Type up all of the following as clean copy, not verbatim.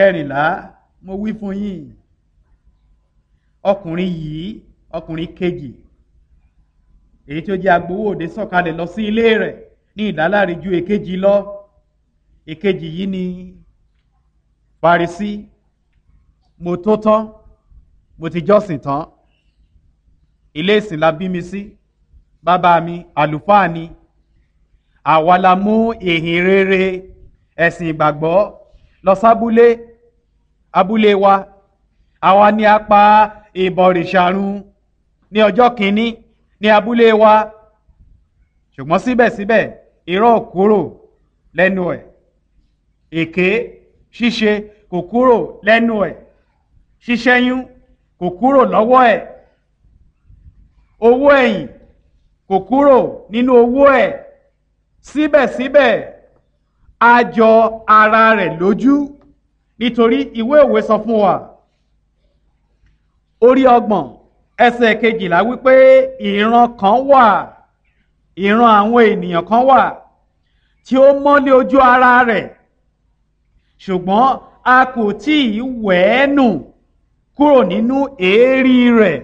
Kẹrìnlá, mo wí fún yín, ọkùnrin yìí, ọkùnrin kejì èyí tí ó jẹ́ agbowó òde sọ̀kalẹ̀ lọ sí ilé rẹ̀ ní ìdáláre ju èkejì lọ. Èkejì yìí ni Farisí. Mo tó tán, mo ti jọ́sìn tán, ilé ìsìn la bí mi sí, bàbá mi àlùfáà ni, àwa la mú ìhìn rere ẹ̀sìn ìgbàgbọ́ lọ sábúlé abúlé wa, àwa ni a pa ìbọ̀rìṣà run ní ọjọ́ kìíní ní abúlé wa. Ṣùgbọ́n síbẹ̀síbẹ̀ irọ́ ò kúrò lẹ́nu ẹ̀, èké ṣíṣe kò kúrò lẹ́nu ẹ̀, ṣíṣẹ́yún kò kúrò lọ́wọ́ ẹ̀, owó ẹ̀yìn kò kúrò nínú owó ẹ̀. Síbẹ̀síbẹ̀ a jọ ara rẹ̀ lójú, nítorí ìwé òwe sọ fún wa orí 30 ẹsẹ̀ 12 wípé ìran kan wà, ìran àwọn ènìyàn kan wà tí ó mọ́lé ojú ara rẹ̀, ṣùgbọ́n a kò tí ì wẹ̀ ẹ́ nù kúrò nínú èérí rẹ̀.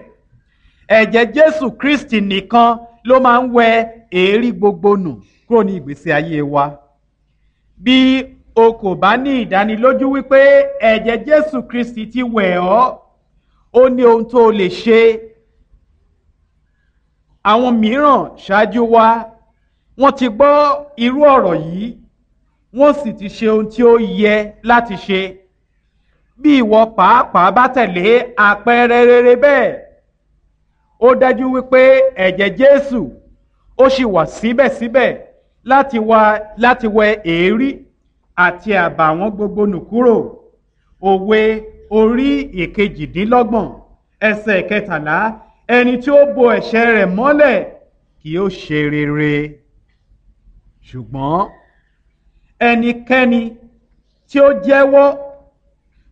Ẹ̀jẹ̀ Jésù Kristi nìkan ló máa ń wẹ èérí gbogbo nù kúrò ní ìgbésí ayé wa. Bí o kò bá ní ìdánilójú wípé ẹ̀jẹ̀ Jésù Kristi ti wẹ̀ ọ́, ó ní ohun tó lè ṣe. Àwọn mìíràn ṣáájú wa, wọ́n ti gbọ́ irú ọ̀rọ̀ yìí, wọ́n sì ti ṣe ohun tí ó yẹ láti ṣe. Bí ìwọ pàápàá bá tẹ̀lé àpẹẹrẹ rere bẹ́ẹ̀, ó dájú wípé ẹ̀jẹ̀ Jésù ó sì wà síbẹ̀síbẹ̀ láti wẹ èérí àti àbàwọ́n gbogbo nù kúrò. Òwe orí 28 ẹsẹ̀ 13, ẹni tí ó bo ẹ̀ṣẹ̀ rẹ̀ mọ́lẹ̀ kì yóò ṣe rere, ṣùgbọ́n ẹnikẹ́ni tí ó jẹ́wọ́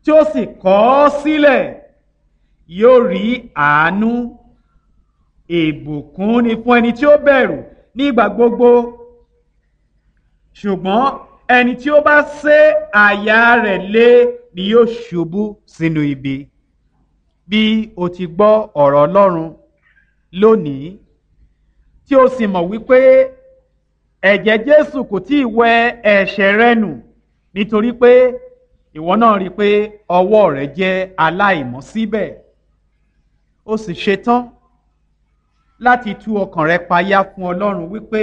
tí ó sì kọ̀ ọ́ sílẹ̀ yóò rí àánú. Ìbùkún ni fún ẹni tí ó bẹ̀rù nígbà gbogbo, ṣùgbọ́n ẹni tí ó bá sé àyà rẹ̀ lé ni yóò ṣubú sínú ibi. Bí o ti gbọ́ ọ̀rọ̀ Ọlọ́run lónìí, tí o sì mọ̀ wípé ẹ̀jẹ̀ Jésù kò tí ì wẹ ẹ̀ṣẹ̀ rẹ nù, nítorí pé ìwọ náà rí i pé ọwọ́ rẹ jẹ́ aláìmọ́ síbẹ̀, o sì ṣetán láti tú ọkàn rẹ payá fún Ọlọ́run wípé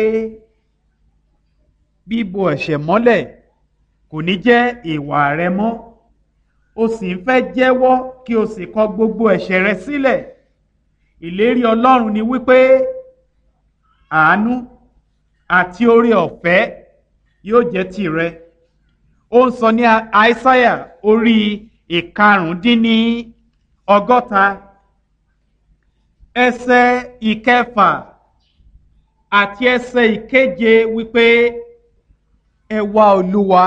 bíbo ẹ̀ṣẹ̀ mọ́lẹ̀ kò ní jẹ́ ìwà rẹ mọ́, o sì ń fẹ́ jẹ́wọ́ kí o sì kọ gbogbo ẹ̀ṣẹ̀ rẹ sílẹ̀. Ìlérí Ọlọ́run ni wípé àánú àti oore ọ̀fẹ́ yóò jẹ́ tìrẹ. Ó ń sọ ní Aísáyà orí 65 ẹsẹ̀ 6 àti ẹsẹ̀ 7 wípé ẹ wá Olúwa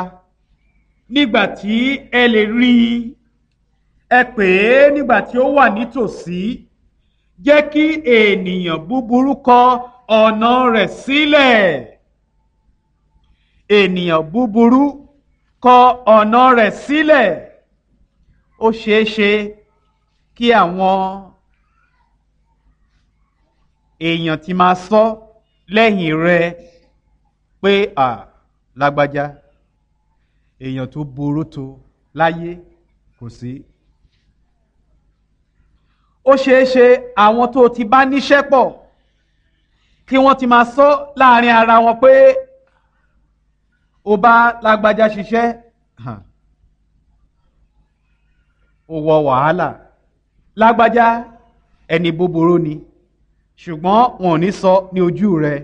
nígbà tí ẹ lè rí i, ẹ pè é nígbà tí ó wà nítòsí. Jẹ́ kí ènìyàn búburú kọ ọ̀nà rẹ̀ sílẹ̀. Ènìyàn búburú kọ ọ̀nà rẹ̀ sílẹ̀. Ó ṣeé ṣe kí àwọn èèyàn ti máa sọ lẹ́yìn rẹ pé à lágbájá, èèyàn tó burú tó láyé kò sí. Ó ṣeé ṣe àwọn tó ti bá níṣẹ́ pọ̀ kí wọ́n ti máa sọ láàrin ara wọn pé o bá lágbájá ṣiṣẹ́, ó wọ wàhálà, lágbájá ẹni búburú ni, ṣùgbọ́n wọn ò ní sọ ní ojú rẹ.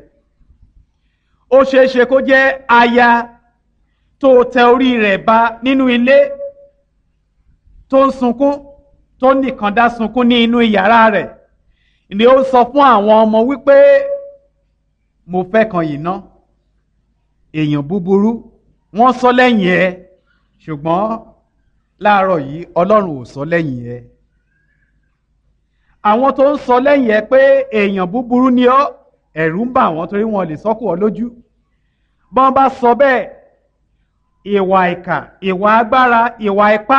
Ó ṣeé ṣe kó jẹ́ aya tó tẹ orí rẹ̀ ba nínú ilé tó ń sunkún, tó nìkan dá sunkún ní inú yàrá rẹ̀, ni ó sọ fún àwọn ọmọ wípé mo fẹ́ kan yìí ná, èèyàn búburú. Wọ́n sọ lẹ́yìn ẹ, ṣùgbọ́n láàárọ̀ yìí Ọlọ́run ò sọ lẹ́yìn ẹ. Àwọn tó ń sọ lẹ́yìn ẹ pé èèyàn búburú ni ọ́, ẹ̀rù ń bà wọ́n torí wọn lè sọ́kù ọ lójú. Bọ́n bá sọ bẹ́ẹ̀, ìwà ìkà, ìwà agbára, ìwà ipá